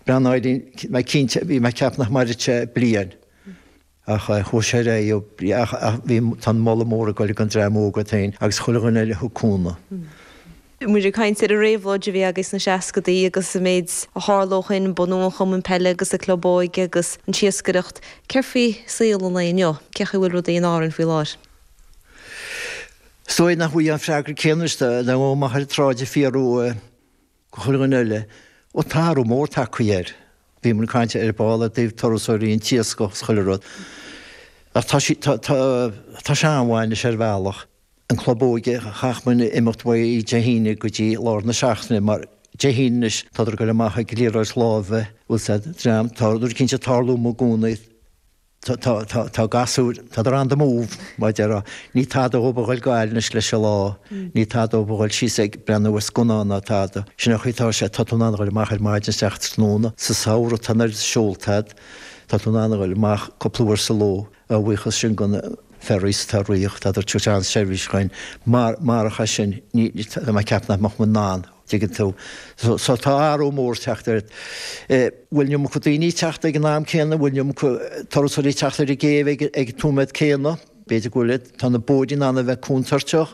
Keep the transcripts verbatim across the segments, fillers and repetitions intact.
Breathnaigh mé cinnte bhí mé ag ceapadh nach mairfeadh sé bliain ach chuaigh sé ar aghaidh ach bhí tá an moladh mór ag dul ag an dream óg iad féin agus chuile dhuine eile a thug cúnamh. Muid ag caint ar an réabhlóid a bhí agaibh sna seascadaí agus an méid a tharla ó shin, bunú an chumainn peile agus an club óige agus an tsiascaireacht. Céard faoi saol an lae inniu? Cén chaoi a bhfuil rudaí in Árainn faoi láthair? Is dóigh nach bhfuil an freagra céanna anois dá ngabhfá amach ar an tsráid ag fiafraí go chuile dhuine eile. Ó tá athrú mór tagtha air. Bhíomar ag caint ar ball i dtaobh turasóirí an t-iascach is chuile rud. Ach tá sí, tá, tá, tá sé an-mhaith anois ar bhealach. An club óige, chaithfeadh muid imeacht uaidh Dé hAoine go dtí lár na seachtaine mar Dé hAoine anois tádar ag dul amach ag liathróid láimhe, bhfuil 's a'd, dream, tá rud eicínt ag tarlú amuigh i gcónaí. Tá, tá, tá, tá gasúir, tádar on the move, mar a déarfá. Ní tada dhóibh a ghoil go Gaillimh anois leis an lá. Ní tada dhóibh a ghoil síos ag breathnú ar scannán ná tada. Sin an chaoi atá sé, tá tú in ann a ghoil amach ar maidin isteach tráthnóna. Sa samhradh tá an oiread seolta a'd, tá tú in ann a ghoil amach cúpla uair sa ló. A bhuíochas sin go na ferries atá ag rith, tádar ag tabhairt an-seirbhís dhuinn. Mar, marach é sin, ní, tá mé ag ceapadh nach mbeadh muid in ann. Tuigeann tú. So, so tá athrú mór teacht air. Bhfuil an iomarca daoine ag teacht ag an am céanna? Bhfuil an iomarca turasóirí ag teacht ar an gcéibh ag, ag an nóiméad céanna? B'fhéidir go bhfuil. Tá na bóithre in ann a bheith contúirteach.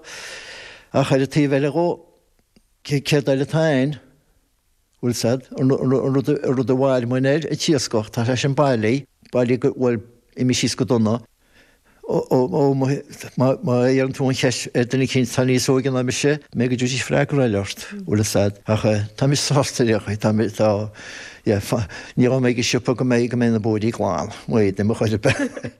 Ach ar an taobh eile dhó, céard eile atá ann? Bhfuil 's a'd, an, an, an rud, an rud a mhair muinn air, an t-iascach, tá sé sin bailí, bailí go, bhuel, imithe síos go dona. Ó, ó, ó, má, má iarrann tú an cheist ar duine eicínt atá níos óige ná mise, b'fhéidir go dtabharfaidís freagra eile ort, bhfuil 'fhios a'd. Ach tá mise sásta ar aon chaoi, tá mé, tá, yeah, ní ghabhfaidh mé ag an siopa go mbeidh, go mbeidh na bóithrí glan, mo éadan mo chuid ar bith.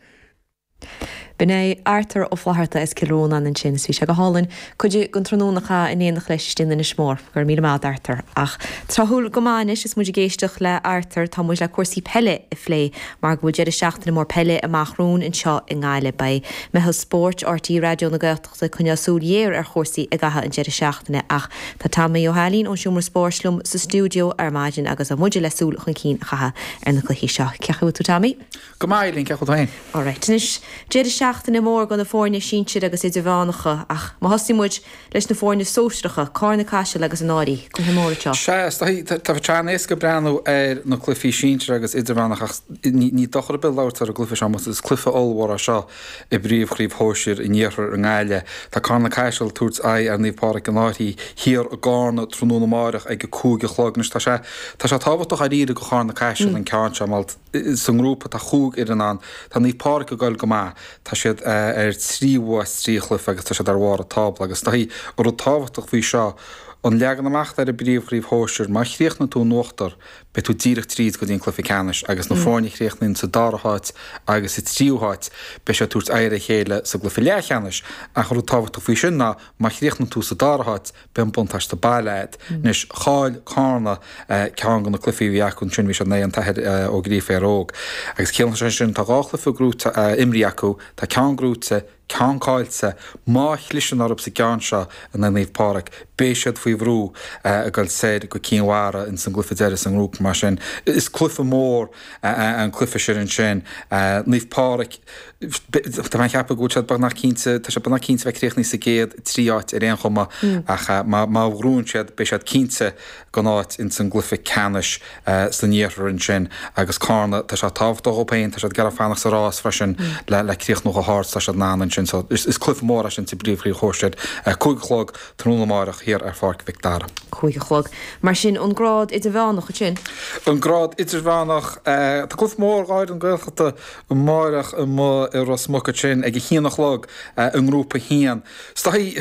B'in é Arthur Ó Flatharta as Cill Rónáin ansin is bhí sé go hálainn cuid den tráthnóna a chaitheamh in éineacht leis istigh in Inis Mór. Go raibh míle maith agat Arthur. Ach tráthúil go maith anois is muid ag éisteacht le Arthur tá muid le cúrsaí peile a phlé mar go bhfuil deireadh seachtaine mór peile amach romhainn anseo i nGaillimh. Beidh Meitheal Spóirt RTÉ Raidió na Gaeltachta ag coinneáil súil ghéar ar chúrsaí i gcaitheamh an deireadh seachtaine ach tá Tommy Ó hAilín ón Seomra Spóirt liom sa stiúideo ar maidin agus tá muide le súil chun cinn a chaitheamh ar na cluichí seo. Cén chaoi a bhfuil tú Tommy? Go maith Eileen, cén chaoi a bhfuil tú féin? Alright, anois deireadh seachtaine mór do na foirne sinsir agus idirmheánacha ach má thosaíonn muid leis na foirne sóisearacha, Carna Caiseal agus an Fhairche, cluiche mór anseo. Sea, tá sé an-éasca breathnú ar na cluichí sinsir agus idirmheánach ach ní dochar ar bith labhairt ar an gcluiche seo mar is cluiche ollmhór é seo i bpríomhchraobh shóisir an Iarthair i nGaillimh. Tá Carna Caiseal ag tabhairt aghaidh ar Naomh Pádraig an Fhairche thiar i gCarna tráthnóna amárach ag a cúig a chlog. Anois tá sé tá sé tábhachtach dáiríre do Charna Caiseal an ceann seo mar sa ngrúpa tá chúig fhoireann ann. Tá Naomh Pádraig ag goil go maith. Tá siad ar trí bhua as trí chluiche agus tá siad ar bharr an tábla agus tá an rud tábhachtach faoi seo an leagan amach ar an bpríomhchraobh shóisir má chríochnaíonn tú in uachtar beidh tú díreach tríd go dtí an cluiche ceannais agus na foirne a chríochnaíonn sa dara háit agus sa tríú háit beidh siad ag tabhairt aghaidh ar a chéile sa gcluiche leathcheannais ach an rud tábhachtach faoi sin ná má chríochnaíonn tú sa dara háit beidh an buntáiste baile agat. Anois chaill Carna ceann de na cluichí a bhí acu ansin bhí siad in aghaidh an tAthair Ó Gríofa Éire Óg. Agus ciallaíonn sé sin tá dhá chluiche gnóite imrithe acu, tá ceann gnóite, ceann caillte, má chliseann orthu sa gceann seo in aghaidh Naomh Pádraig, beidh siad faoi bhrú ag dul soir go Cinn Mhara ins an gcluiche deiridh sa ngrúpa mar sin is cluiche mór an cluiche sin ansin. Naomh Pádraig, tá mé ag ceapadh go bhfuil siad beagnach cinnte, tá siad beagnach cinnte bheith críochnaithe sa gcéad trí áit ar aon chuma ach má má ghnóthaíonn siad beidh siad cinnte den áit ins an gcluiche ceannais san iarthar ansin agus Carna tá sé tábhachtach dhóibh féin, tá siad ag iarraidh fanacht sa rás freisin le le críochnú chomh hard is tá siad in ann ansin so is is cluiche mór é sin sa bpríomhchraobh shóisir. Cúig a chlog tráthnóna amárach thiar ar Pháirc Mhic Dara. Cúig a chlog. Mar sin an grád idirmheánach ansin? An grád idirmheánach, tá cluiche mór dhá fhoireann Gaeltachta amárach amuigh i Ros Muc ansin ag a haon a chlog i ngrúpa a haon. Is dóigh,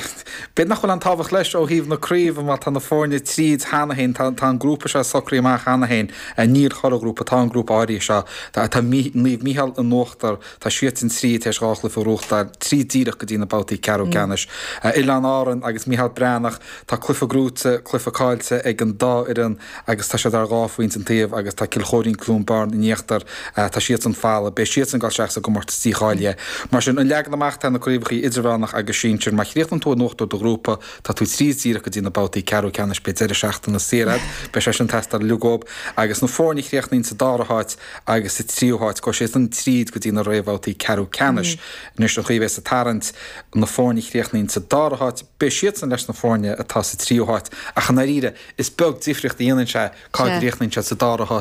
b'fhéidir nach bhfuil aon tábhacht leis ó thaobh na craoibhe mar tá na foirne tríd cheana féin, tá tá an grúpa seo socraithe amach cheana féin, níl corraghrúpa, tá an grúpa áirithe seo, tá tá Naomh Mícheál in uachtar, tá siadsan tríd tar éis dhá chluiche a ghnóthachtáil, tríd díreach go dtí na babhtaí ceathrú ceannais. Oileáin Árann agus Mícheál Breathnach, tá cluiche gnóite, cluiche caillte ag an dá fhoireann agus tá siad ar dhá phointe an taobh agus tá Cill Chóirín Cluain Bheirn in íochtar, tá siadsan folamh, beidh siadsan ag dul isteach sa gcomórtas dícháilithe. Mar sin, an leagan amach atá ar na craobhacha idirmheánach agus sinsir, má chríochnaíonn tú in uachtar do ghrúpa, tá tú tríd díreach go dtí na babhtaí ceathrú ceannais, beidh deireadh seachtaine saor agat, beidh sé sin ag teastáil uilig dhóibh, agus na foirne a chríochnaíonn sa dara háit agus sa tríú háit, gabhfaidh siadsan tríd go dtí na réamhbhabhtaí ceathrú ceannais. Anois, an chaoi a bheas an tarraingt, na foirne a chríochnaíonn sa dara háit, beidh siadsan leis na foirne atá sa tríú háit, ach i ndáiríre, is beag difríocht a dhéanann sé cá gcríochnaíonn siad sa dara háit.